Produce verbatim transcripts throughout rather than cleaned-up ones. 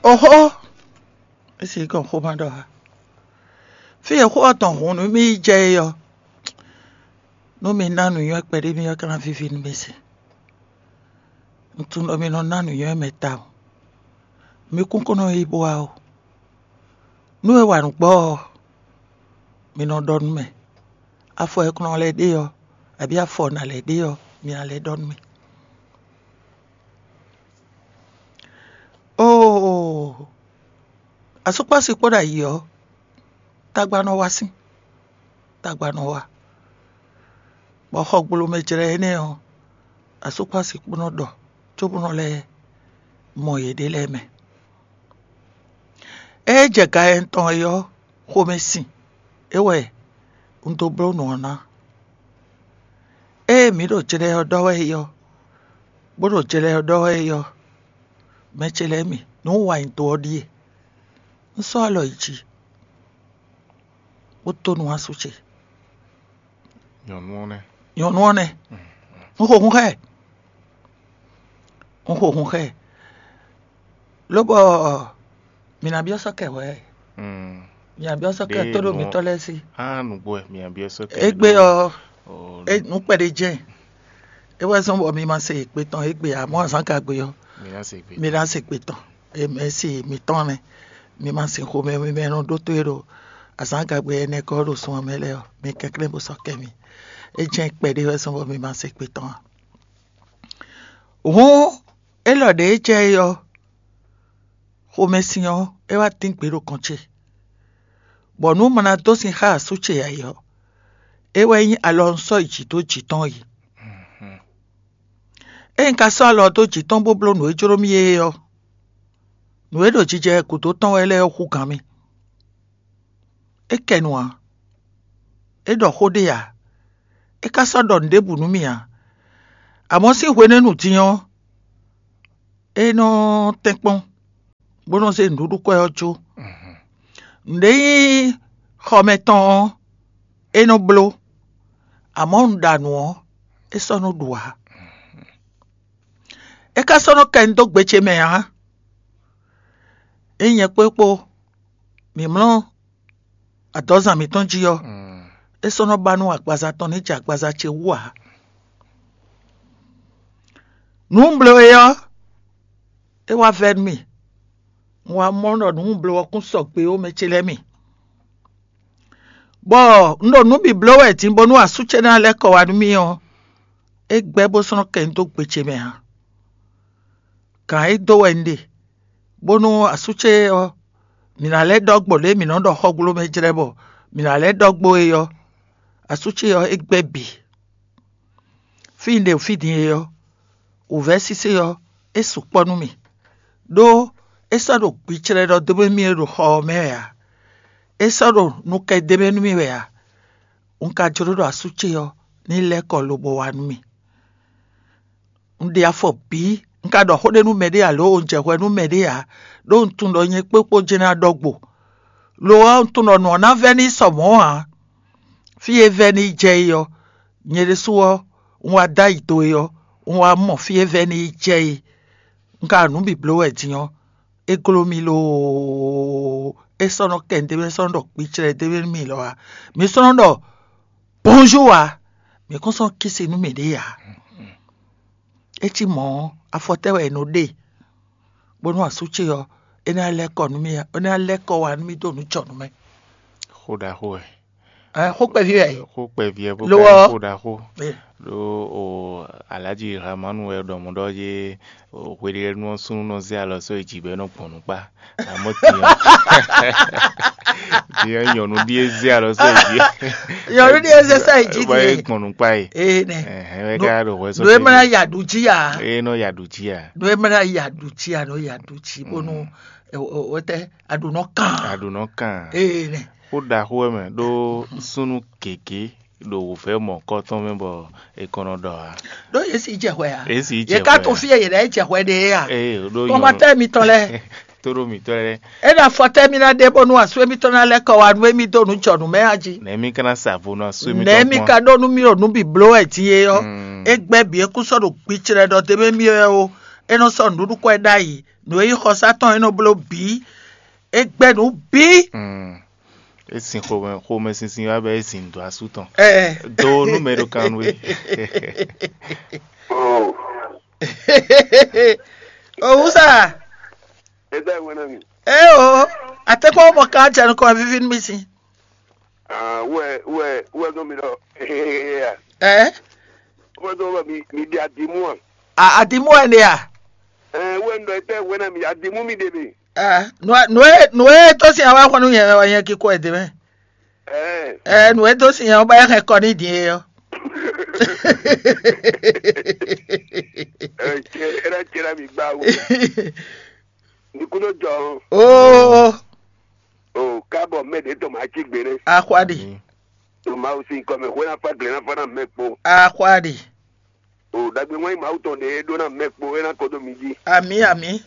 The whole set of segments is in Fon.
Oxó, é sì kɔn xó ma ɖɔ ǎ. Fí e xó ɔ́ tɔn hun nú mì yi jɛ é ɔ́, nú mi ná nǔnywɛ́ kpɛɖé mì ɔ́, ka ná víví nú mi se. Un tunwun ɖɔ mi nɔ ná nǔnywɛ́ mɛ tawun. Mi kún kɔn nɔ yi bó wá ó. Nú è wa nǔ gbɔ ɔ́, mi nɔ ɖɔ nú mɛ. Afɔ e kɔn nɔ lɛ́ ɖe ɔ́, abǐ afɔ ná lɛ́ ɖe ɔ́, mi ná lɛ́ ɖɔ nú mì. Oo, asúkpási kpó ɖo ayǐ ɔ́, tagba nɔ wá sín, tagba nɔ wá. Bɔ xɔgblomɛ jlɛ́ énɛ́ ɔ́, asúkpási kpó nɔ ɖɔ, cóbó nɔ lɛ́ mɔ yěɖée lɛ́ɛ mɛ. Ée jɛ ga nyanya tɔn é ɔ́, xomɛ sin é wɛ un dó bló nǔ ɔ́ ná. Ée mǐ ɖo jlɛ ɔ́ ɖɔ wɛ é ɔ́, bó ɖo jlɛ ɔ́ ɖɔ wɛ é ɔ́, mɛ ce lɛ́ɛ mi, nǔ wa nyi do ɔ́ ɖíe: un sɔ́ alɔ yi jǐ, bó dó nú asú ce. Nyɔ̌nu ɔ́ nɛ́. Nyɔ̌nu ɔ́ nɛ́. Un xo hun xá ɛ. Un xo hun xá ɛ. Lóbɔ mǐ ná byɔ́ sɔ́ kɛ hwɛ̌. Mǐ ná byɔ́ sɔ́ kɛ tó ɖo mǐtɔn lɛ́ɛ sí. Á nǔgbó wɛ mǐ ná byɔ́ sɔ́ kɛ. Égbé ɔ́, nǔ kpɛɖé jɛ́n. É wɛ zɔ́n bɔ mi ma se yě kpé tɔn égbé ǎ, mɔ̌ azǎn ka gbe ɔ́, mi ná se gbe tɔn. Mɛ̌si mǐtɔn nɛ́. Mi ma se xomɛ mi mɛ nɔ ɖótó e ɖo azǎn gagbe ɛnɛ kɔ ɖo sun ɔ́ mɛ lɛ́ɛ ɔ́, mi kɛnklɛ́n bó sɔ́ kɛ mi. É jɛ́n kpɛɖé wɛ zɔ́n bɔ mi ma se gbe tɔn ǎ. Hǔn élɔ́ ɖě e jɛ é ɔ́, xomɛsin ɔ́, é wá tín gbě ɖo kɔn ce, bɔ nú ma ná dó sin xá asú ce ǎ é ɔ́, é wɛ nyí alɔ un sɔ́ yi jǐ dó jǐ tɔn yi. Ényí un ka sɔ́ alɔ dó jǐ tɔn bó bló nǔ e jló mì é ɔ́, nǔ e ɖo jijɛ gǔdo tɔn wɛ lɛ́ɛ ɔ́ hú gǎn mì. É kɛ nu ǎ; é ɖɔ xó ɖé ǎ; é ka sɔ́ ɖɔ nǔ ɖěbǔ nú mì ǎ. Amɔ̌ sín hwenɛ́nu din ɔ́, é nɔ tɛ́nkpɔ́n, bó nɔ́ zé nǔɖuɖu kwɛ́ ɔ́ jó. Nǔɖé nyí xɔmɛ tɔn ɔ́, é nɔ bló; amɔ̌ un ɖa nǔ ɔ́, é sɔ́ nɔ ɖu ǎ. É ka sɔ́ nɔ kɛ nu dó gbe ce mɛ ǎ. Ényí nyɛ kpó é kpó mǐ mlɔ́ adɔ̌zan mǐtɔn jí ɔ́, é sɔ́ nɔ ba nú agbaza tɔn ní jɛ agbaza ce wú ǎ. Nǔ un bló é ɔ́, é wá vɛ́ nú mì. Un wá mɔ ɖɔ nǔ un bló ɔ́ kún sɔgbe ó mɛ ce lɛ́ɛ mi. Bɔ un ɖo nǔ bǐ bló wɛ din bónú asú ce ná lɛ́ kɔ wá nú mì ɔ́, é gbɛ́ bó sɔ́ nɔ kɛ nu dó gbe ce mɛ ǎ. Gǎn e dó wɛ un ɖe, bónú asú ce ɔ́, mǐ ná lɛ́ ɖɔ gbo lě e mǐ nɔ ɖɔ xɔgblomɛ jlɛ́ bɔ mǐ ná lɛ́ ɖɔ gbo é ɔ́, asú ce ɔ́, é gbɛ́ bǐ. Fí un ɖe fí din é ɔ́, wǔvɛ́ sésé ɔ́, é sukpɔ́ nú mì, ɖó é sɔ́ ɖo gbiclɛ́ ɖɔ dó mì é ɖo xɔ ɔ́ mɛ wɛ ǎ; é sɔ́ ɖo nukɛ d'é mɛ nú mì wɛ ǎ. Un ka jló ɖɔ asú ce ɔ́ ní lɛ́ kɔ lobo wá nú mì. Un ɖe afɔ bǐ; un ka ɖɔ xó ɖé nú mɛɖé ǎ, lǒ un jɛ hwɛ nú mɛɖé ǎ, ɖó un tunwun ɖɔ nyɛ kpékpó jɛ́n ná ɖɔ gbo. Lo ɔ́, un tunwun ɖɔ nǔ ɔ́ ná vɛ́ n'i sɔ mɔ̌ ǎ. Fí e vɛ́ n'i jɛ é ɔ́, nyɛ ɖésú ɔ́, un wá dó ayi do é ɔ́, un wá mɔ fí e vɛ́ n'i jɛ é. Un ka ɖo nǔ bǐ bló wɛ din ɔ́, é gló mì loo; é sɔ́ nɔ kɛ nǔɖé mɛ, é sɔ́ nɔ ɖɔ gbiclɛ ɖé mɛ nú mì lɔ ǎ. Mǐ sɔ́ nɔ ɖɔ bonjour ǎ; mǐ kún sɔ́ kí si nú mǐɖée ǎ. É cí mɔ̌ ɔ́, afɔtɛ́ wɛ è nɔ ɖe, bónú asú ce ɔ́, é ná lɛ́ kɔ nú mì, é ná lɛ́ kɔ wá nú mì dó nǔ jɔ nú mɛ. Xó ɖaxó wɛ. Ɛ, xó kpɛví wɛ. Xó kpɛví wɛ bó Lo ka nyí ɔ́. Xó ɖaxó. Ɛ. Ɖó o Alhaji Ramanu wɛ ɖɔ mɔ ɖɔ yé o hweɖénu ɔ́ súnnu nɔ zé alɔ sɔ́ yi jǐ bɔ é nɔ gbɔn nukpá. Amɔ̌ din ɔ́, din ɔ́ nyɔ̌nu ɖíe zé alɔ sɔ́ yi jǐ. Nyɔ̌nu ɖíe zé sɔ́ yi jǐ Bɔ é din. gbɔn nukpá yi. Ee nɛ. Ɛhɛn, wɛ ká ɖo hwɛ sɔ́ Ɖo é tɛ́ mɛ ná yi. yi aɖu jí a. É nɔ yi aɖu jí a. Ɖo é mɛ ná yi aɖu jí a, nɔ yi aɖu jí bónú wetɛ aɖu nɔ kàn. Aɖu nɔ kàn. Ee nɛ. Xó ɖaxó wɛ mɛ ɖó súnnu gěgé ɖo wǔvɛ́ mɔ̌kɔ́tɔn mɛ bɔ è kɔn nɔ ɖɔ ǎ. Ɖó yě si jɛ hwɛ a. Yě si jɛ Yě ka hwɛ to a. fí e yě ná yi jɛ hwɛ ɖe é a. Ee ɖó Kɔmatɛ mitɔn lɛ. Tó ɖó mǐtɔn lɛ. É ɖo afɔtɛ mi ná ɖe bónú asú émítɔn ná lɛ́ kɔ wá nú émí dó nǔ jɔ nǔ mɛ a jí. Nɛ̌ mí ka ná sa vo nú asú Nɛ̌ mi ka ɖó nú mì ɖo nǔ bǐ bló wɛ din é ɔ́? É gbɛ́ bǐ é kún sɔ́ ɖo gbiclɛ ɖɔ d'é mɛ mì wɛ ó. É nɔ sɔ́ nǔɖuɖu kɔ ɛ ɖ'ayǐ. Nǔ e nyí xɔsá tɔn é nɔ bló bǐ. É gbɛ́ nǔ bǐ. Mm. É sin xomɛ xomɛ sinsin wá bɔ é sin dó asú tɔn. Ɛ Do nú mɛ ɖo kan nú é. Oh. Owúsá. Eda wena mi. Eo, àtɛkpɔ mɔ ká jɛ nukɔn vivi nú mi si. Ah, wɛ wɛ wɛ dɔ mi ɖɔ. Ya. Ɛ. Wɛ dɔ mi mi di adimu a. A adimu ɛnɛ a. Ɛ wɛ ndɔ etɛ wena mi adimu mi de mi. Ɛ, nǔ e nǔ e tó sin awa xɔnu yẹn wɛ yẹn kíkó ɛ dé mɛ. Ɛ. Ɛ, nǔ e tó sin yẹn wɛ bá yẹ hɛn kɔ ní dín é yɔ. Ɛ, cɛ ɛ na cɛ na mi gbá wo. Ní kúndó jɔ. Oo. O kábọ̀ mɛ ɖě tɔn máa cí gbe nɛ́. Axwadi. Tó máa sin kɔ mɛ xwé ná fá gle ná fá ná mɛ kpo. Axwadi. O ɖagbe wɛn mawu tɔn ɖě ɖó ná mɛ kpo é ná kɔ dó mi jí. Ami ami.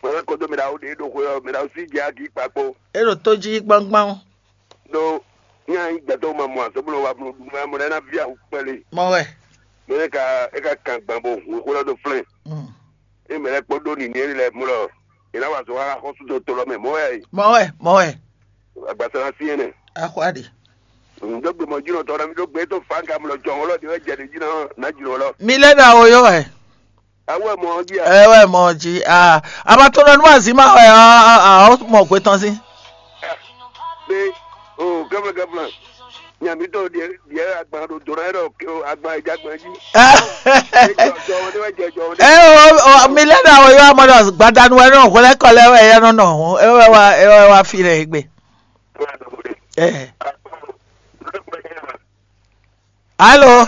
Mɛ ná kɔ dó mi ɖawo ɖě ɖo xwé ɔ́ mi ɖawo sí jɛ agi kpa kpo. É ɖo tó jí gbangban. Ɖó ní a nyí gbɛtɔ́ ma mɔ azɔ̌ bó nɔ wa bló ɖu mɛ mɔ ɖé ná ví awu kpɛlé. Mɔ wɛ. Mɛ é ka é ka kan gbǎn bó hun xwé lɔ dó flɛ́n. Mm. Ée mɛ lɛ́ɛ kpɔ́n ɖó nǐní énɛ́ lɛ́ɛ mlɔ́, è nǎ wa azɔ̌ xá xɔ́súdɔtɔ́ lɔ mɛ mɔ̌ wɛ a yi. Mɔ̌ wɛ, mɔ̌ wɛ. Agbaza ná syɛ́n nɛ́. Axwá ɖe. Ǹdó gbe mɔ̌ jínɔ tɔn ná mi ɖó gbe tó fǎngamlɔ jɔhɔn lɔ ɖě wɛ jɛ ɖě jí ná ná jínɔ lɔ. Mi lɛ́ ɖo awo yɔ́ wɛ. Awu ɛ mɔ ɔ́ jí a? Ɛ wɛ mɔ ɔ́ jí. Aa, abatɔnɔ nú azǐma wɛ ɔ́, ɔ́ mɔ gbé tɔn sín. Ɖé o gɛ́mlɛ́ gɛ́mlɛ́. Nya mǐtɔn ɖiɛ ɖiɛ agban ɖo dǒ ná ɖɔ agban e jɛ agban jí. Ɛ o, o, mi lɛ́ ɖo awo yɔ́ amɔ ɖɔ gbadanu wɛ nɔ hwlɛ́ kɔ lɛ́ wɛ yɛ nɔ nɔ hɔn, é wɛ wá é wɛ wá fi lɛ é gbe. Ɛ. Alo.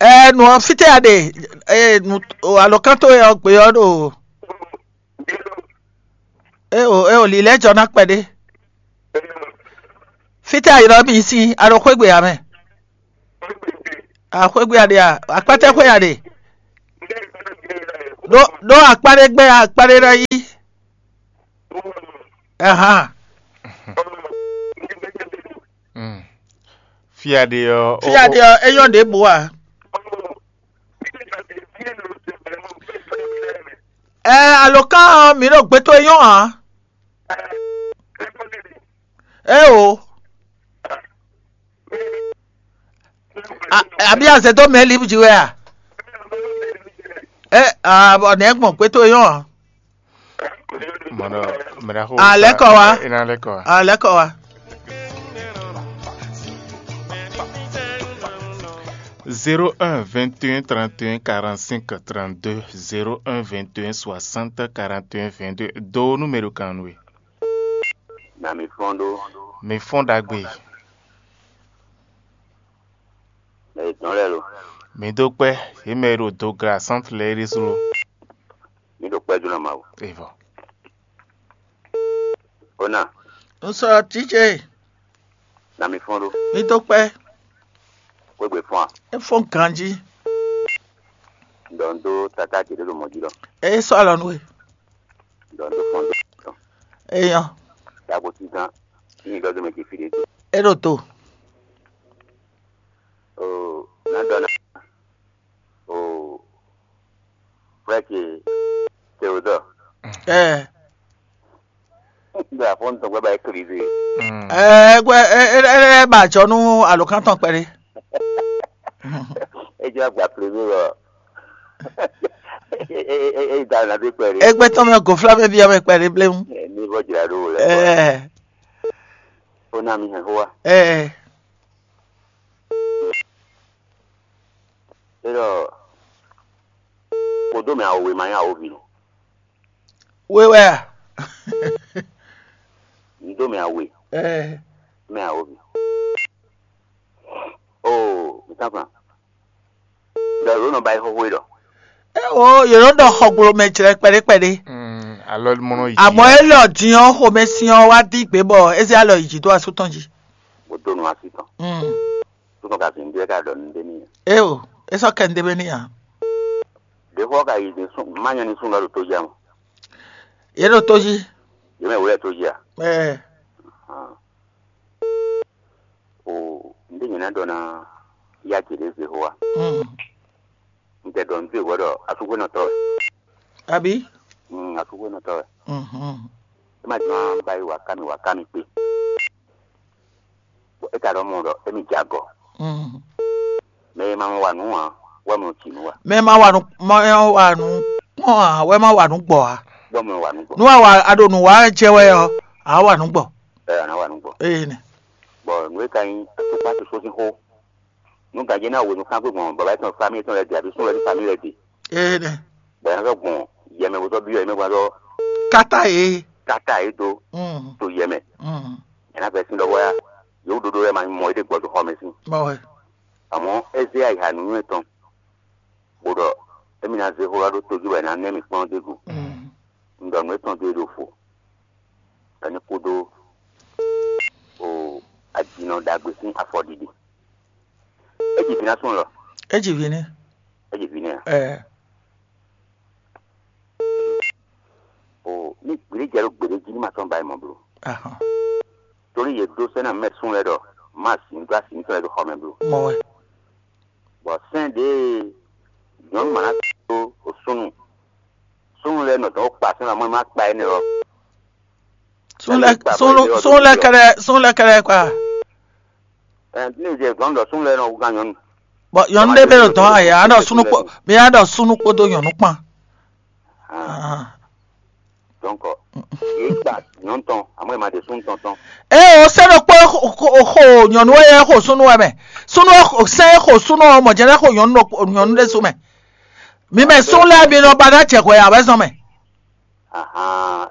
Ɛ, nǔ ɔ́ fítɛ́ a ɖe? Ɛ, nǔ alɔkán towe ɔ́ gbe ɔ́ ɖo. Eo eo lǐlɛ́ jɔ ná kpɛɖé. Fítɛ́ a ylɔ́ mì sín a ɖo xwégbe ǎ mɛ? A xwégbe a ɖe a? Akpátɛ́ xwé a ɖe? Ɖó ɖó akpá ɖé gbɛ́ akpá ɖé ná yí. Ahan. Mm. Fí a ɖe ɔ́, fí a ɖe ɔ́, é nyɔ́ ɖěbǔ a? Ɛ alɔkán ɔ́, mǐ ɖo gbɛtɔ́ é nyɔ́ ǎ. Eo. Abí azɛ dó mɛ líbú jí wɛ a? Ɛ abɔ nɛ̌ gbɔn gbɛtɔ́ é nyɔ́ ǎ? Mɔnɔ, mɛɖaxo. Alɛkɔ wa. Ina alɛkɔ wa. Alɛkɔ wa. Zéro un vingt et un trente et un quarante-cinq trente-deux, zéro un vingt et un soixante quarante et un vingt-deux. Do numéro kan nú we. Na mi fɔ́n ɖó. Mi fɔ́n ɖagbe. Mɛ yětɔn lɛ́ɛ lo. Mi dó kpɛ́, yě mɛ e ɖo do gra sántu lɛ́ɛ é ɖésú lo. Mi ɖo kpɛ́ dó ná Mawu. Evɔ. Ona. Un sɔ títse. Na mi fɔ́n ɖó. Mi dó kpɛ́. Xwégbe fɔ́n a? É fɔ́n ganjí. Ɖɔ un dó tata ce ɖé ɖo mɔ̌ jí lɔ. É sɔ́ alɔ nú we. Ɖɔ un dó fɔ́n ɖó. Eyɔn. Ɖagbo sísán. Ní ɖɔ dó mɛ ce fí ɖé. É ɖo to. O ná ɖɔ ná. O frère ce Théodore. Ɛ. Gbé afɔ ŋutɔ gbé ba éclise. Ɛ gbé ɛ ɛ ɛ ba jɔ nú alɔkan tɔn kpɛɖé. É jẹ́ àgbà premier lọ. É da na dé kpɛɖé. Égbé tɔn mɛ gòflá mɛ bia mɛ kpɛɖé bléwu. Ní bɔ jìrà ɖó wò lɛ. Ɛ. Ó ná mi hɛn xó wa. Ɛ. É ɖɔ kó dó mɛ awo wěma nyí awo vǐ. We wɛ a? Un dó mɛ awe. Ɛɛ. Mɛ awo vǐ. Oo, mi tán fan. Ɖɔ ló nɔ ba yi xóxó é ɖɔ. Eo, yě nɔ ɖɔ xɔgblo mɛ jlɛ kpɛɖé kpɛɖé. Mm, alɔ mɔ nɔ yi. Àmọ́ é lɔ din ɔ́ xomɛ sin ɔ́ wá dí gbě bɔ é zé alɔ yi jǐ dó asú tɔn jí. Bó dó nu así tɔn. Mm. Súnnu ka zǐn ɖé ka ɖɔ nǔɖé n'i. Eo, é sɔ́ kɛ nǔɖé n'i ǎ. Ɖě xɔ ka yi zǐn sún má nyɛ ní sún lɔ ɖo tó jí a mɔ. Yě ɖo tó jí. Yě mɛ wǔ lɛ tó jí a? Ɛɛ. O, nǔɖé nyɛ ná ɖɔ ná yá ce ɖě zě xó a? Mm. Un tɛ ɖɔ nǔ towe hwɛ ɖɔ asúxwénɔtɔ́ wɛ. Abǐ? Mm, asúxwénɔtɔ́ wɛ. Mhm. É ma jló ná ba yi wǎ ká mì wǎ ká mì kpé. Bɔ é ka ɖɔ mɔ ɖɔ émí jɛ agɔ. Mhm. Mɛ e ma mɔ wa nǔ ǎ, wɛ mɔ ci nǔ wa. Mɛ ma wa nǔ, mɛ ma wa nǔ kpɔ́n ǎ, wɛ ma wa nǔ gbɔ ǎ. Bɔ mɔ wa nǔ gbɔ. Nú a wa a ɖo nǔ wa wɛ jɛ wɛ ɔ́, a wa nǔ gbɔ. Ɛ a nǎ wa nǔ gbɔ. Ee nɛ. Bɔ nǔ e ka nyí atúkpá soso sín xó. Nú gǎnjé ná wenu kán gbé gbɔn baba yětɔn famille yětɔn lɛ́ɛ ɖe, abǐ sún lɛ́ɛ ɖi famille lɛ́ɛ ɖe. Ee nɛ. Bɔ yě ná sɔ́ gbɔn yɛ mɛ bó sɔ́ byɔ́ yě mɛ bó ná sɔ́ Kata yě. Kata yě dó Mm. To yɛ mɛ. Mm. Yě ná fɛ sín ɖɔhɔ́ yá. Yěwúɖóɖó lɛ́ɛ ma nyí mɔ éɖée gbɔ dó xɔ mɛ sín. Bɔ wɛ. Àmọ́ é zé ayixa nǔnywɛ́ tɔn, bó ɖɔ émí ná zé xó ɔ́ ɖó tójú wɛ è nǎ nɛ́ mì kplɔ́n d'é gu. Mm. Un ɖɔ nǔ étɔn dó é ɖo fo, bɔ é ní kú dó o ajinɔ ɖagbe sín afɔɖiɖi. É ji vǐ ná sún lɔ. É ji vǐ n'i. É ji vǐ n'i a? Ɛɛ. O ní gběɖé jɛ ɖó gběɖé jí ní ma sɔ́ ba yi mɔ bló. Ahɔn. Torí yě dó sɛ́ ná mɛ sún lɛ́ɛ ɖɔ má sǐ dó asǐ mitɔn lɛ́ɛ ɖo xɔ mɛ bló. Mɔ wɛ. Bɔ sɛ́n ɖě nyɔ̌nu ma ná dó o súnnu. Súnnu lɛ́ɛ nɔ dɔn ó kpa sɛ́n ɔ́, má kpa énɛ́ ɔ́. Sun lɛ sun sun lɛ kɛɖɛ sun lɛ kɛɖɛ kwa. Ɛ ní ìdí gbɔn ɖɔ sún lɛ nɔ wúgán nyɔnu. Bɔn nyɔnu ɖé bɛ ɖo dɔn ayɛ anɔ sunu kpɔ mi anɔ sunu kpódó nyɔnu kpán. Donc yìí gba nyɔnu tɔn àmọ́ ìmọ̀ àti sún tɔn tɔn. Ee o sɛ ɖo kpɔ xo nyɔnu wɛ yɛ xo sunu wɛ mɛ sunu sɛ xo sunu ɔ mɔ jɛ ne xo nyɔnu nyɔnu ɖe su mɛ. Mi mɛ sún lɛ mi nɔ ba ná jɛ hwɛ awɛ zɔn mɛ.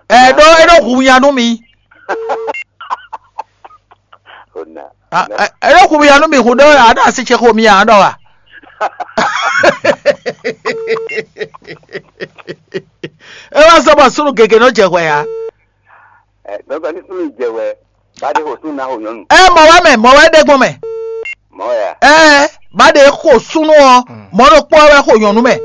Ɛ ɖó é ɖó hu nya nú mi. Ona. Ɛ ɖó hu nya nú mi hu ɖó aɖo asi ce xo mi ǎ ɖɔ wa. É wá zɔ bɔ súnnu gěgé nɔ jɛ hwɛ ǎ. Ɛ dɔgɔ ní súnnu jɛ hwɛ bá ɖé xo súnnu ná xo nyɔnu. Ɛ mɔ wɛ mɛ mɔ wɛ ɖe gbɔn mɛ. Mɔ ya. Ɛ bá ɖé xo súnnu ɔ mɔ ɖo kpɔ wɛ xo nyɔnu mɛ.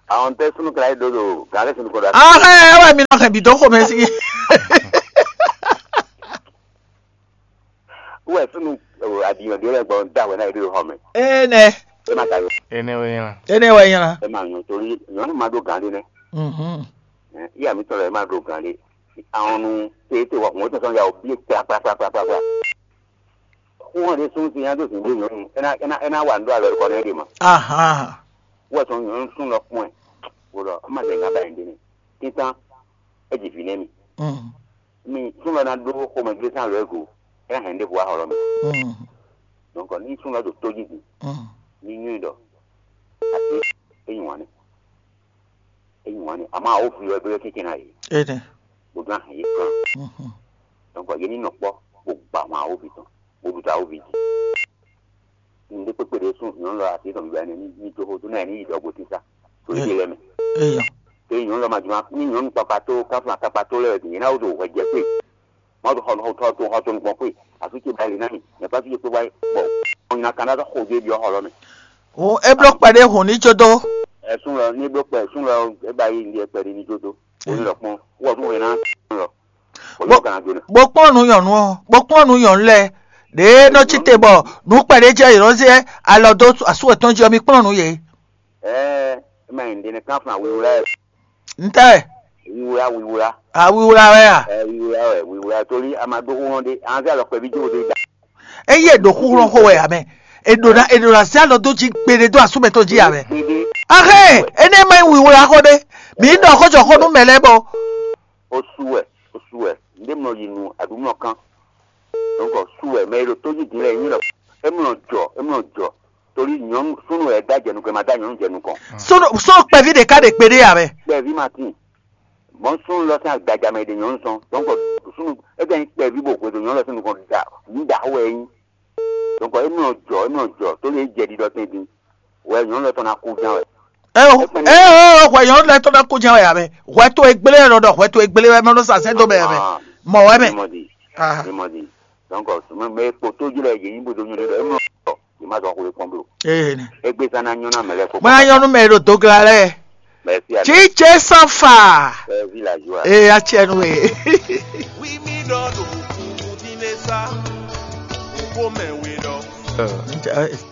Àwọn tẹ súnnu kla yi dodo gàlẹ́ súnnu kɔ da. Ahɛ wɛ mi nɔ hɛn bi dó xomɛ sí. Wɛ súnnu adìyàn dé lẹ gbọ́n da wẹ náà yẹ dé xɔ mɛ. Ee nɛ. E ma ta yọ. Ene wɛ yẹn la. Ene wɛ yẹn la. E ma yọ torí yọ ma do gàn dé nɛ. Mhm. Iya mi tọrọ e ma do gàn dé. Àwọn nu tètè wà kún ó tẹ̀sán ya o bí kpla kpla kpla kpla kpla. Xó hɔn ɖé sún sin yá dó zǐn dó nyɔ̌nu é ná é ná é ná wa nǔ ɖó alɔ kɔ nɛ́ ɖe mɔ. Aha. Wɔ sɔn nyɔ̌nu sún lɔ kpɔn ɛ wò ɖɔ má zɛ ŋá ba yɛn ɖé nɛ títán é ji vǐ nɛ́ mi. Mm. Mi sún lɔ ná ɖó xomɛ gbé sán lɔ é go é ná hɛn ɖěvo wá xɔ lɔ mɛ. Mm. Donc ní sún lɔ ɖo tó jí din Mm. Ní nyɔ́ ɖɔ àti é nyi wǎn nɛ é nyi wǎn nɛ àmọ́ àwọn òfin lɔ é bɛ́ kɛ́kẹ́ ná yě. Ene. Gbogbo ahàn yě kàn. Mhm. Donc yě ní nɔ kpɔ́ bó gba ahwan awóvi tɔn bó ɖu ta awóvi jí. Nǔɖé kpékpé ɖé sún nyɔ̌nu lɔ así tɔn bíbá ɛnɛ ní dó xó dó náà ní yi ɖɔ gosín sá. Torí ɖé lɛ́ɛ mɛ. Eya. Ké nyɔ̌nu lɔ ma juma ní nyɔ̌nu kpakpa tó káfíń akakpa tó lɛ́ɛ bǐ nyɛ ná wó ɖo hwɛ jɛ kpé. Má ɖo xɔ xɔ tó xɔ tó nukpɔn kpé. Asú ce ba li ná mi. Nyɛ pá fi kpé wáyé. Bɔ ɔnyina kan ná xo dó ebi ɔ́ xɔ lɔ mɛ. O e bló kpɛɖé hùn ní jó dó. Ɛ sún lɔ ní bló kpɛ sún lɔ é ba yi ní kpɛɖé ní jó dó. Ó ní lɔ kpɔn. Wɔ tún wɛ ná lɔ. Bó kpɔ́n nú nyɔ̌nu ɔ́, bó kpɔ́n nú nyɔ̌nu lɛ́ɛ, ɖěe nɔ cí te bɔ nǔ kpɛɖé jɛ yě nɔ zé alɔ dó asú yětɔn jí ɔ́, mi kplɔ́n nú yě. Ɛɛ, é ma nyí ɖe nɛ́ kán fún awiwla ɛ. Ntɛ́? Wiwla, wiwla. Awiwla wɛ a? Ɛ, wiwla wɛ, wiwla torí a ma ɖó xó hɔn ɖé, an zé alɔ kpɛví jó ɖé da. Eye è ɖo xúxlɔ́n xó wɛ ǎ mɛ. È ɖo ná è ɖo ná zé alɔ dó jí gbeɖé dó asú mɛtɔn jí ǎ mɛ. Gbéɖé. Axé, énɛ́ ma nyí wiwla xó ɖé. Mǐ ɖɔ xó jɔ xó nú mɛ lɛ́ɛ bɔ. Ó sú wɛ, ó sú wɛ. Ndé mlɔ yi nu aɖǔmlɔ kán. Donc sú wɛ, mɛ e ɖo tó jí din lɛ nyí lɔ. É mlɔ jɔ, é mlɔ jɔ. Torí nyɔ̌nu súnnu wɛ dá jɛ nukɔn, ma dá nyɔ̌nu jɛ nukɔn. Sódò sódò kpɛví ɖeka ɖe kpe ɖé ya mɛ. Kpɛví ma tín. Mɔ̌ súnnu lɔ sín agbaja mɛ e ɖe nyɔ̌nu sɔn. Donc súnnu é ka nyí kpɛví bɔ hwedó nyɔ̌nu lɔ sín nukɔn da nǔ ɖaxó wɛ é nyí. Donc é mlɔ jɔ, é mlɔ jɔ, tó lè jɛ ɖiɖɔ tɛn din. Wɛ nyɔ̌nu lɔ tɔn ná kú ján wɛ. Ɛ o ɛ o hwɛ nyɔ̌nu lɛ́ɛ tɔn ná kú ján wɛ ya mɛ. Hwɛ tó e gblé wɛ nɔ ɖɔ hwɛ tó e gblé wɛ mɛ nɔ sa sɛ́ dó mɛ ya mɛ. Mɔ wɛ mɛ. Mimɔdi. Ah. Mimɔdi. Donc mɛ kpo tó jí lɛ yě nyí bó dó nyɔ̌nu lɛ é mlɔ jɔ. Yě má zɔ xwlé kpɔ́n bló. Ee ne. Égbé zán ná nyɔ́ ná mɛ lɛ́ɛ kpó. Mɛ ná nyɔ́ nú mɛ e ɖo dogla lɛ́ɛ. Merci à Tsitse sanfa. Village wa. Ee atsɛ nu e. Wi mi ɖɔ ɖo kúkú dín lé sá, kókó mɛ we ɖɔ.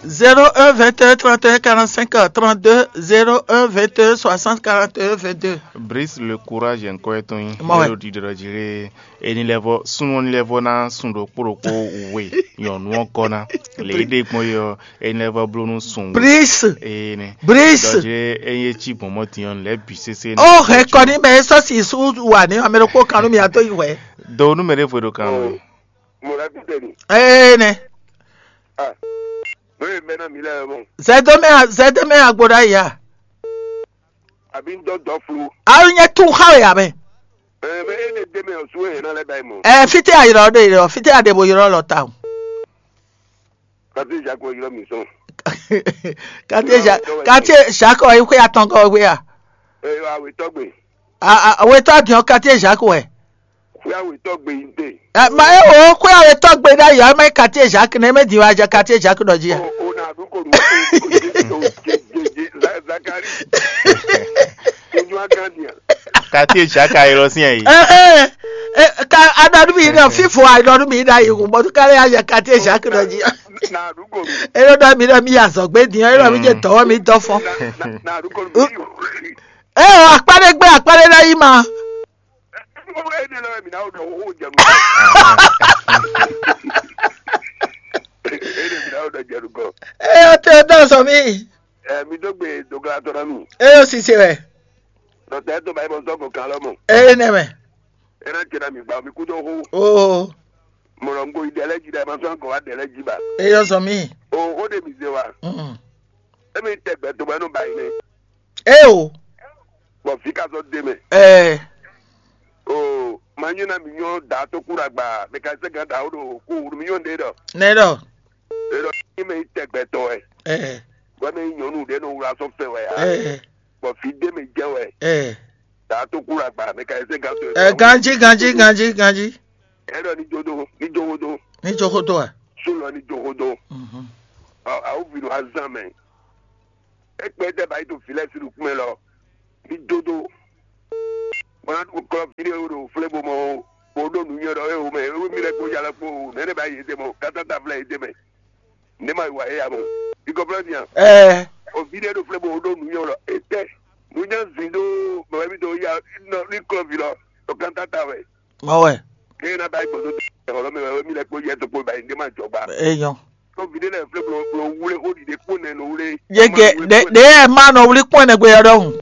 Zéro un vingt et un trente et un quarante-cinq trente-deux, zéro un vingt et un soixante quarante et un vingt-deux. Brice, le courage, encore ton. Moi, ouais. Mélodie de Roger. Eni lɛvɔ sunnu ni lɛvɔ na sun ɖokpó ɖokpó we nyɔnu ɔ́ gɔ́ ná. Le ide gbɔn yɔ eni lɛvɔ bló nú sun. Brice. Ene. Brice. Dɔje eye ci gbɔn mɔ tiɲɔ lɛ bi sese. Oh, he kɔni mɛ sɔ si su wa ni ame ɖokpó kan nú mi ato yi wɛ. Do nú mɛ ɖe fwe ɖo kan nú. Mo la tete ni. Ene. Ah. Bóyá mɛ na mi lɛ mɔ. Zɛdɔmɛ zɛdɔmɛ agbo ɖa ya. Àbí ń dɔ́ dɔ́ flu. Alu nyɛ tún xa wɛ ya mɛ. Ɛ bɛ e ne dé mɛ o su e na lɛ ba yi mɔ. Ɛ fite ayirɔ ɖe yirɔ fite aɖebo yirɔ lɔ ta o. Kati Jacques yirɔ mi sɔn. Kati Jacques kati Jacques ɔ yi xwe atɔn kɔ xwe ya. Ɛ awe tɔgbe. A a wetɔ diɔ kati Jacques wɛ. Xwe awe tɔgbe yi de. Ɛ ma e o xwe awe tɔgbe ɖa yɔ ma kati Jacques ne me di wa ja kati Jacques dɔ ji. O o na du ko nu o o je je je Za- Zakari. Ojú agán diẹ. Kati Jacques ayé lọ sí ẹ̀yìn. Ɛ ɛ ɛ ka aɖɔnu mi ɖe fífo aɖɔnu mi ɖe ayi kun bɔtú kálí ayɛ kati Jacques dɔ ji. Na du ko nu. Ero dɔ mi ɖe mi azɔgbe diɔ ero mi je dɔwɔ mi dɔ fɔ. Na na du ko nu. Ɛ o akpaɖe gbé akpaɖe ɖe yi ma. Ene lɔ mi na o dɔ o jɛ nu. Ene mi na o dɔ jɛ nu kɔ. Ɛ o te o dɔ sɔ mi. Ɛ mi dó gbe dogla tɔ na mi. Ɛ o sise wɛ. Dɔtɛ tó báyìí bɔ sɔgɔ kan lɔ mɔ. Ɛ nɛ mɛ. Ena tse na mi gba mi kú tó xó. Oo. Mɔlɔ ŋgo yi dɛlɛ ji dɛ ma sɔn kɔ wa dɛlɛ ji ba. Ɛ yɔ sɔ mi. O o de mi ze wa. Mm. Emi tɛ gbɛ tó bɛ nɔ ba yi nɛ. Ɛ o. Bɔ fi ka sɔ de mɛ. Ɛ. O ma nyɔ na mi nyɔ da to kura gba mɛ ka se gan da o do ko mi nyɔ de dɔ. Nɛ dɔ. E dɔ ni mɛ tɛ gbɛ tɔ wɛ. Ɛ. Bɔ mɛ nyɔnu de no wla sɔ fɛ wɛ ya. Ɛ. Bɔ fi de mɛ jɛ wɛ. Ɛ. Da to kura gba mɛ ka se gan to. Ɛ ganji ganji ganji ganji. E dɔ ni jodo ni jogodo. Ni jogodo a. Sulɔ ni jogodo. Mhm. Awu vinu azan mɛ. Ekpɛ tɛ ba yi to filɛ si nukun mɛ lɔ. Ní dódó. Bɔn ná kɔ fí ɖé ɖo flé bo mɔ o, bo ɖó nǔnywɛ́ ɖɔ éwo mɛ, éwo mì lɛ́ kpó ya lɛ́ kpó o, nɛ̌ nɛ ba yě ɖe mɔ, kátáta vlɛ́ yě ɖe mɛ. Nɛ̌ ma yi wa éya mɔ? Ikɔ flɛ́ nya. Ɛɛ. O fí ɖé ɖo flé bo ɖó nǔnywɛ́ ɖɔ, étɛ́, nǔnywɛ́ zǐn ɖó mɛ wɛ mì dó ya ní klɔ́ vǐ lɔ, ɖo kátáta wɛ. Mɔ wɛ. Eye na ba gbɔdɔ tɛ xɔlɔ mɛ wɛ mi lɛ kpo yɛ to kpo ba yi ne ma jɔ gba. Eyɔn. Tó vi ɖe lɛ flɛ blo blo wule xó ɖiɖe kpo nɛ no wule. Yege ɖe ɖe ɛ ma nɔ wuli kpɔn nɛ gbe yɔ ɖɔhun.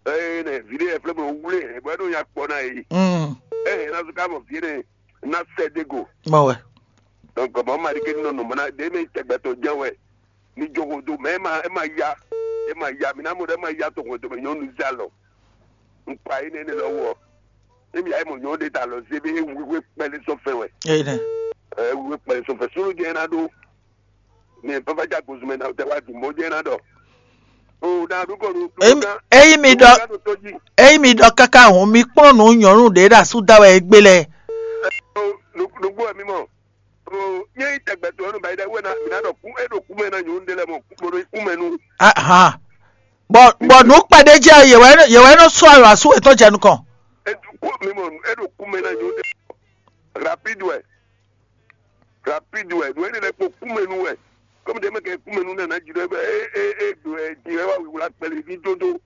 Eye nɛ vi ɖe lɛ flɛ blo wule ɛ bɔ ɛdɔ ya kpɔ na yi. Mm. Ɛ na so ka mɔ vi ɖe na sɛ de go. Mɔ wɛ. Donc mɔ ma ɖi ke nɔ nɔ mɔ na ɖe mi tɛgbɛ to jɛ wɛ. Ní joxo dó mɛ ema ema ya ema ya mi ná mɔ ɖɔ ema ya to hwɛndo mɛ nyɔnu zé alɔ. Un kpa yi nɛnɛ lɔ wɔ. Emi ya mɔ nyɔnu ɖe ta alɔ zé be wíwé kpɛlɛ sɔ fɛ wɛ. Eyi nɛ. Ɛ wíwé kpɛlɛ sɔ fɛ sulu jɛ na ɖo. Mɛ papa ja gozu mɛ na tɛ wa dun bɔ jɛ na ɖɔ. O na ɖu kɔ ɖu. Eyi eyi mi ɖɔ eyi mi ɖɔ kaka hɔn mi kplɔn nù nyɔnu ɖe ɖe asu da wɛ egbe lɛ. Nugbo mi mɔ. Nyɛ yi tɛgbɛ to enu ba yi ɖe wena mi na ɖɔ ku e ɖo ku mɛ na nyɔnu ɖe lɛ mɔ ku ɖo ku mɛ nu. Ahan. Bɔ bɔ nu kpɛɖe jɛ yewɛ yewɛ nɔ sɔ ayɔ asu etɔn jɛ nukɔn. E ɖo ku mi mɔ e ɖo ku mɛ na nyɔnu ɖe. Rapide wɛ. Rapide wɛ nu ene lɛ kpo ku mɛ nu wɛ. Kɔmi ɖe mɛ kɛ ku mɛ nu nana dzi ɖe bɛ e e e do ɛ dzi wɛ wa wiwla kpɛlɛ vi dodo.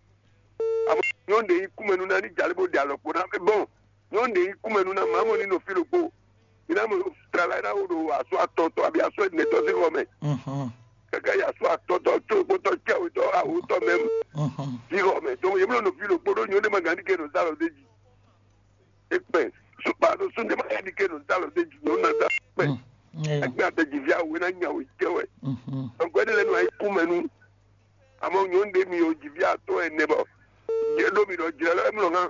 Amɔ nyɔnu ɖe yi ku mɛ nu na ni dza le bo ɖe alɔ kpo na bɔn. Nyɔnu ɖe yi kúmɛ nú ná má mɔ ní nɔ fí ɖokpó. Mi ná mɔ tlala e ná wo ɖo asɔ atɔn tɔn abi asɔ ɛnɛ tɔn sín xɔ mɛ. Kaka yi asɔ atɔn tɔn tó kpótɔ cɛwé tɔn awo tɔn mɛ sín xɔ mɛ. Donc yě mlɔ nɔ fí ɖokpó ɖó nyɔnu ɖé ma gán ní ke nɔ zá lɔ dé dzi. Ekpɛ supa ɖo sún ɖé ma gán ní ke nɔ zá lɔ dé dzi nyɔnu ná zá kpɛ. Ẹgbẹ́ àtẹ̀jì fi awo ná nya wò jẹ́ wẹ̀. Donc ẹni lẹ́nu ayé kúmẹ nú. Àmọ́ nyɔnu ɖé mi ò jì fí atɔ́ ɛnɛ bɔ yě ɖo mi ɖɔ jlɛ lɔ emlɔ hã.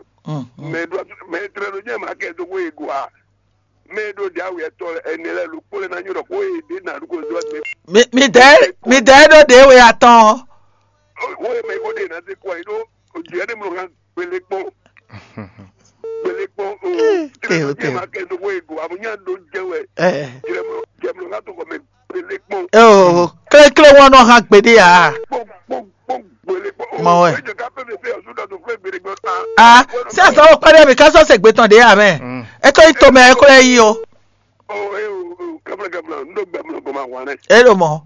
Mɛ ɖo mɛ tlɛ ɖo nyɛ ma kɛ do ko e go a. Mɛ ɖo ɖe awu ɛtɔ ɛnɛ lɛ lo kpó lɛ na nyɔ ɖɔ ko e ɖe na ɖo ko do ɛgbɛ. Mi mi dɛ mi dɛ ɖo ɖe we atɔn. Wo e mɛ ko ɖe na se kɔ yi ɖo jlɛ ɖe mlɔ hã gbele kpɔn. Gbele kpɔn o. Tlɛ ɖo nyɛ ma kɛ do ko e go a mo nya ɖo jɛ wɛ. Jlɛ mlɔ jɛ mlɔ hã to kɔ mɛ. Eo, kléklé wọn nɔ hã gbeɖé a? Mɔ wɛ. A sɛ sɔ kpɛɖɛ mi ká sɔ se gbetɔn ɖé a mɛ. E ko yi to mɛ e ko lɛ yi o. E ɖo mɔ.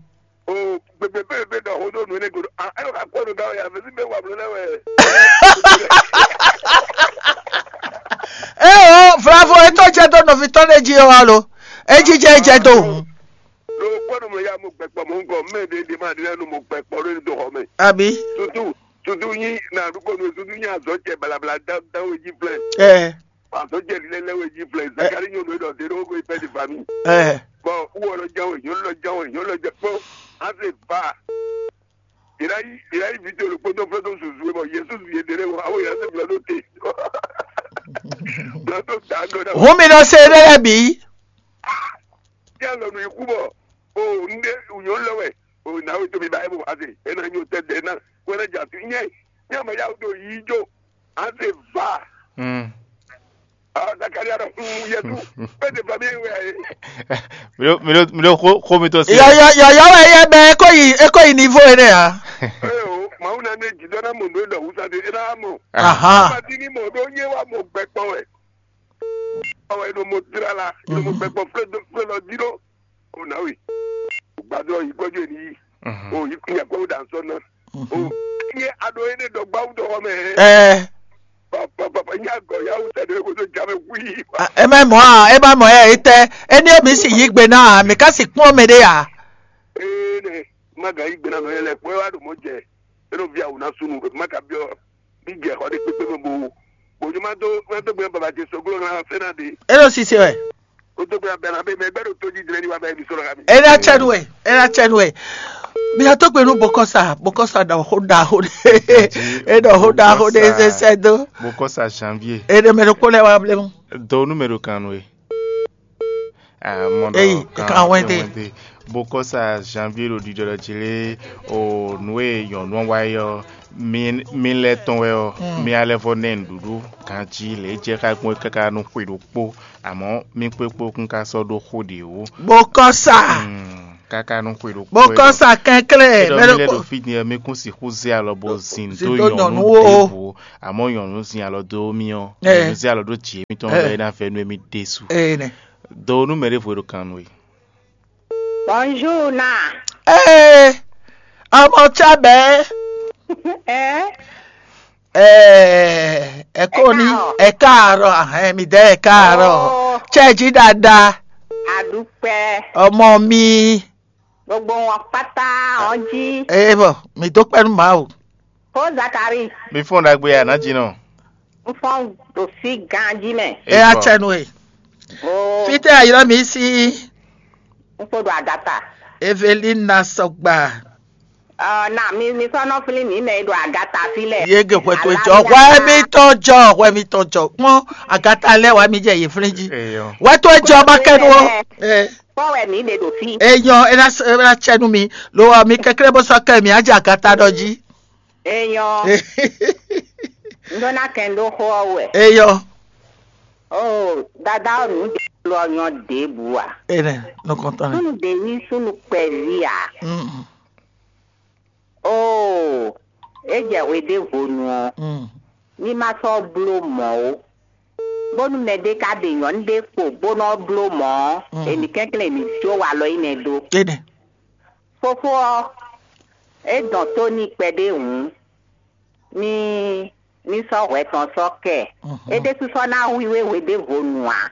O gbegbe pépépé ɖɔ xó ɖo nǔ énɛ́ godo. A ɛlɔ ka kpɔ nǔ gá wɛ a vɛ́ sí bɛ wa bló lɛ wɛ. Eo, Vlavo, e tó jɛ dó nɔví tɔn ɖé jí ɔ́ alo? E jí jɛ e jɛ dó hǔn. Lo kpɔ nɔ mɔ ya mo gbɛkpɔ mo ŋgɔ mɛ ɖe ɖe ma ɖe nɔ mo gbɛkpɔ ɖo do xɔ mɛ. Abi. Tutu tutu nyi na ɖu ko nu tutu nyi azɔ cɛ balabala da da we ji flɛ. Ɛ. Azɔ cɛ lɛ lɛ we ji flɛ. Zakari nyɔnu ɖɔ de ɖo ko ipɛ di fami. Ɛ. Bɔn wɔ lɔ jɛ we nyɔnu lɔ jɛ we nyɔnu lɔ jɛ kpɔ. Ase va. Ila yi ila yi video lo kpɔtɔ fɛ do susu bɔ Yesu ye de ɖe wɔ awo ya se bila do te. Bila do da do da. Hun mi nɔ se ɖe lɛ bi. Yɛ lɔ nu ikú bɔ o nde unyɔ lɛ wɛ o na we to mi ba ebo ase ena nyo tɛ de na wɛ na ja tu nyɛ nyɛ ma ya do yi jo ase va. Mm. Ah, Zakaria ɖɔ, "Mm, Yesu, pé de famille wɛ ayi." Mi ɖo mi ɖo mi ɖo xó xó mi tɔn se. Yɔyɔ yɔyɔ wɛ yɛ bɛ eko yi eko yi niveau ene a. Ee o, Mawu na ne jidɔ na mɔ ndu e ɖɔ wusa de e na mɔ. Aha. Mati ni mɔ ɖo nye wa mɔ gbɛkpɔ wɛ. Ɔwɛ no mo tlala, no mo gbɛkpɔ flɛ do flɛ lɔ di ɖo. O na we. O gbadɔ yi gbɔdɔ ni yi. O yi kun ya gbɔ da nsɔ na. O nye aɖo ene ɖɔ gbawu dɔ xɔ mɛ. Ɛ. Papa papa nya gɔ ya wusa de ko to jame wi. A, ema mɔ a, ema mɔ ɛ etɛ. Eni mi si yi gbe na, mi ka si kpɔn mɛ ɖe ya. Ee ne ma ga yi gbe na nɔ yɛ lɛ kpɔ wa ɖo mɔ jɛ. Eno via wò ná sunu ma ka biɔ bí jɛ xɔ ɖé kpékpé mɛ bo bo ní ma dó ma dó gbé baba jɛ soglo ŋlá fɛn ná ɖe. Eno sise wɛ. O dó gbé abẹ na bẹ mɛ gbẹdọ tó jí jìnnà ní wa bẹ mi sọ̀rọ̀ kàmi. Ena tsɛnu wɛ, ena tsɛnu wɛ. Mi ató gbenu bokɔsa bokɔsa ɖɔ xó ɖaxó ɖe. E ɖɔ xó ɖaxó ɖe sɛsɛ dó. Bokɔsa janvier. E ɖe mɛ ɖokpó lɛ wa blemu. Donu mɛ ɖo kan nue. Eyi kan wɛnte. Bokɔsa janvier ɖo ɖiɖɔ ɖɔ jí lé o nǔ e nyɔ̌nu ɔ́ wa é ɔ́, mi mi lɛ́ tɔn wɛ ɔ́, mi alɛ vɔ nɛ nǔɖuɖu ganjí lě e jɛ xá gbɔn é káká nú xwe ɖokpó, àmọ́ mí kpékpó kún ká sɔ́ ɖó xó ɖě ó. Bokɔsa. Káká nú xwe ɖokpó. Bokɔsa kɛnklɛ́n. Mɛ ɖokpó. Ɖo fí din ɔ́, mí kún sixú zé alɔ bó zin dó nyɔ̌nu ɖěvo, àmọ́ nyɔ̌nu zin alɔ dó mí ɔ́, nyɔ̌nu zé alɔ ɖó jǐ émítɔn bɔ é ná vɛ́ nú émí ɖésú. Dó nú mɛ ɖěvo e ɖo kan nú we. Bonjour na. Ee, ọmọ Chabẹ. Ẹ Ee, ẹ kò ní ẹ káàárọ̀, ahẹ́n mi dẹ́ ẹ káàárọ̀. Ó Ṣé ẹ jí dáadáa? Àdúpẹ́. Ọmọ mi. Gbogbo wọn pátá wọn jí. Ee bọ̀, mi dó pẹ́nu màá o. Kó Zakari. Mi fún un dagbe yà ná jí nɔ. N fɔn ɖo fí ganjí mɛ. Ẹ á tsɛnu e. Ó Fítɛ ayirɔ mi sí. N kpo ɖo agata. Evelina Sɔgba. Ɔ na mi mi sɔ nɔ flin mi mɛ e ɖo agata fi lɛ. Yege hwɛ to jɔ hwɛ mi tɔn jɔ hwɛ mi tɔn jɔ kpɔn agata lɛ wa mi jɛ ye flin ji. Eyɔ. Hwɛ to jɔ ba kɛ nu o. Kpɔ wɛ mi ɖe ɖo fi. Eyɔ ena ena tsɛ nu mi lo wa mi kɛkɛ bɔ sɔ kɛ mi adze agata ɖɔ ji. Eyɔ. N ɖo na kɛn ɖo xɔ wɛ. Eyɔ. Oh, dada ɔ nu de lɔ nyɔ de bu a. Ene nukɔntɔn ne. Sunu de yi sunu kpɛvi a. Mm. Oo, é jɛ hweɖěvo nu ɔ́, ní má sɔ́ bló mɔ̌ ó, bónú mɛɖé ka ɖe nyɔ̌nu ɖé kpo bó nɔ́ bló mɔ̌ ɔ́, èmí kɛnklɛ́n èmí jó walɔ énɛ́ dó. Énɛ́. Fofó ɔ́, é dɔn tó n'i kpɛɖé hǔn, ní ní sɔ́ hwɛ tɔn sɔ́ kɛ. É ɖésú sɔ́ ná hwíhwé hweɖěvo nu ǎ.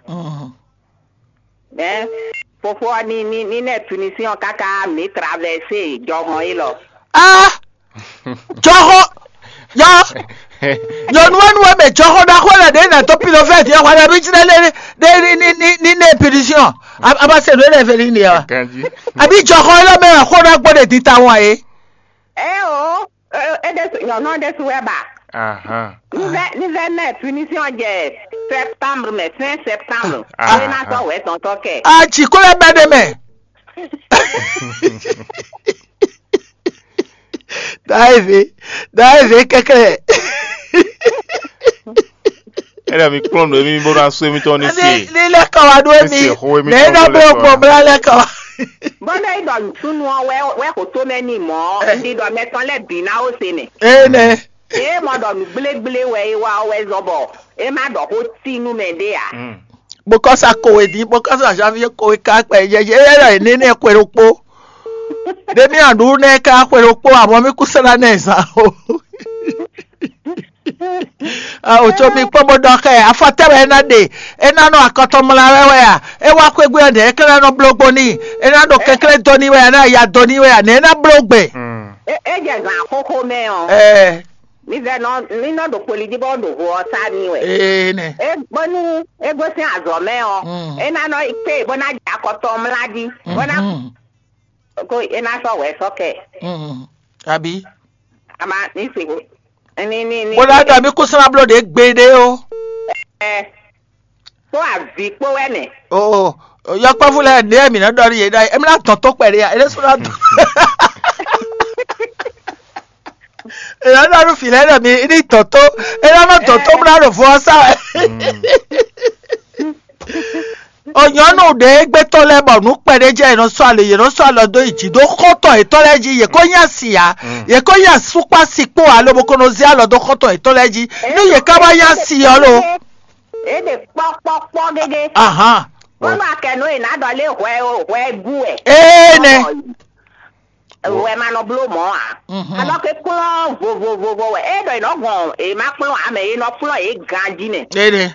Mɛ fofó ɔ́ ní ní ní nɛ punition káká mǐ traverser jɔhɔn élɔ́. Ah, jɔhɔn, yɔ, nyɔnu wɛ nu wɛ mɛ jɔhɔn ɖaxó lɛ ɖe nà tó pilofɛti ɔ́ hwɛ ɖe bí jí lɛ lé ní ní ní ní nɛ punition. A ma se nǔ énɛ́ fɛ́ ní ní ɔ́. Àbí jɔhɔn élɔ́ mɛ xó ná gbọ́ ɖe di ta wọ́n é. Ɛ o, é ɖésú nyɔ̌nu ɔ́ ɖésú wɛ ba. Ní vɛ ní vɛ mɛ punition jɛ septembre mɛ, fin septembre. Ɛ ná sɔ́ wɛ tɔntɔn kɛ. A jǐ kó lɛ́ bɛ́ ɖé mɛ. Dǎ eve, dǎ eve kɛkɛ. Ena mi kplɔ́n nǔ émí bó ná sú émítɔn ní se. Ní lɛ́ kɔ wá ɖó émí. Ní se xó émítɔn. Nɛ̌ ná bó gbɔn bla lɛ́ kɔ wá. Bó ná yi ɖɔ nǔsúnú ɔ́ wɛ wɛ xo tó mɛ n'i mɔ̌, un ɖi ɖɔ mɛ tɔn lɛ́ɛ bǐ ná ó se mɛ. Énɛ́. Ée mɔ ɖɔ nǔ gblégblé wɛ é wá ɔ́ wɛ zɔ́n bɔ é má ɖɔ xó tí nú mɛ ɖé ǎ. Bó kɔ́ sa kowe dín, bó kɔ́ sa janvier kowe ká kpɛ yɛyɛ yɛ ɖɔ yě ní ní xwe ɖokpó. Ɖé mì aɖu nɛ ká xwe ɖokpó abɔ mì kú sɛ́ ná nɛ zán o. Awo tso mi kpɔ́n bó ɖɔ xɛ afɔtɛ́ wɛ é ná ɖe, é ná nɔ akɔtɔn mla wɛ wɛ a? É wá xwé gbe ɔ́ nɛ̌ é ká ná nɔ bló gbo n'i? É ná ɖo kɛnklɛ́n dó n'i wɛ a? É ná ya dó n'i wɛ a? Nɛ̌ é ná bló gbe? É jɛ zǎn xóxó mɛ ɔ́, Ɛɛ, mi zɛ nɔ mi nɔ ɖo kpoli jí bɔ ɖo vo ɔ́ sá mi wɛ. ee nɛ. É bónú é gosín azɔ̌ mɛ ɔ́, Mm. é ná nɔ kpé bó ná jɛ akɔtɔn mla jí bó ná Mhm. kó é ná sɔ́ wɛ sɔ́ kɛ. Mhm. Àbí? Ama ní se ko ní ní ní. Bó ná ɖɔ mí kó sɔ́ ná bló ɖě gbeɖé ó. Ɛ kó avi kpó wɛ nɛ. O yɔkpɔ́vú lɛ́ɛ ní ẹ̀mí náà ɖɔ ní yě ɖɔ ẹ̀mí náà tɔ̀n tó pẹ̀lú ya ẹ̀mí sɔ́ ná tɔ̀n. Èyí náà ɖɔ fìlẹ́ náà mi ní tɔ̀n tó èyí náà tɔ̀n tó múná ɖo fún ọ sá wɛ. Ònyɔ́nù ɖě gbétɔ́ lɛ́ɛ bɔ nǔ kpɛɖé jẹ́ yě nɔ sɔ́ alě yě nɔ sɔ́ alɔ dó yi jǐ dó xɔ́ntɔn yětɔn lɛ́ɛ jí yě kó nyí asi ǎ yě kó nyí asúkpá sikpó alo bó ko nɔ zé alɔ dó xɔ́ntɔn yětɔn lɛ́ɛ jí nú yě ká wá nyí asi ɔ́ lo. É ɖe kpɔ́kpɔ́kpɔ́ gégé. Ahan. Bónú akɛnú è nǎ ɖɔ lé hwɛ o hwɛ gú wɛ. Ee nɛ. Wɛ ma nɔ bló mɔ̌ ǎ. Mhm. Alɔ ke kplɔ́n vovovovo wɛ é ɖɔ è nɔ gɔn è má kplɔ́n ǎ mɛ è nɔ kplɔ́n yě ganjí nɛ. Ee nɛ.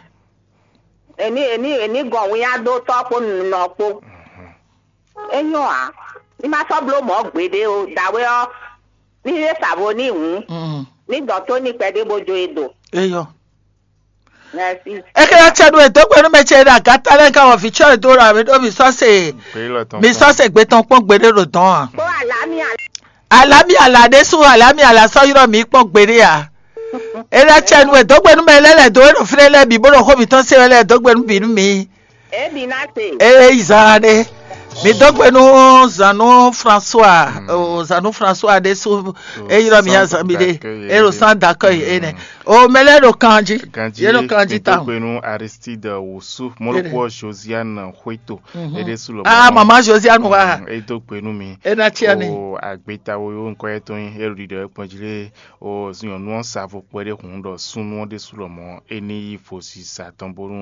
Èní èní èní gɔn wíyá dó tɔ́ kpó nɔ kpó. É nyɔ́ ǎ. Ní má sɔ́ bló mɔ̌ gbeɖé o dǎwe ɔ́ ní yé savo ní hǔn Mhm. ní dɔn tó ní kpɛɖé bó jó e do. Eyɔ. Merci. Ekele tsɛ ɖo edɔgbe nu mɛ tsɛ ɖe agata lɛ ka wɔ vitsɔ ɖo ɖo ame ɖo mi sɔ se mi sɔ se gbe tɔn kpɔn gbeɖe ɖo dɔn a. Kó àlàáfíà Alami ala ɖe su alami ala sɔ yrɔ mi kpɔn gbeɖe a. Ele tsɛ nu edɔgbe nu mɛ lɛ lɛ do eno fine lɛ bi bó ɖo xó mi tɔn se lɛ edɔgbe nu bi nu mi. Ebi náà ṣe. Ee zan ɖe. Mi dɔgbe nu zanu François o zanu François ɖe su eyrɔ mi azan mi ɖe ero san dakɔ yi ene. O mɛ lɛ ɖo kanji. Ye ɖo kanji ta. Gbenu Aristide Wusu mɔlɔkpɔ Josiane Hueto. Eɖe su lɔ. Ah mama Josiane wa. Edo gbenu mi. Ena tia ni. O agbeta wo yo nkɔ yɛ tɔn yi ero ɖiɖɔ ekpɔn jí lé. O nyɔnu ɔn sa vo kpɛ ɖe hun ɖɔ sunu ɔn ɖe su lɔ mɔ eni yi fo si sa tɔn bonu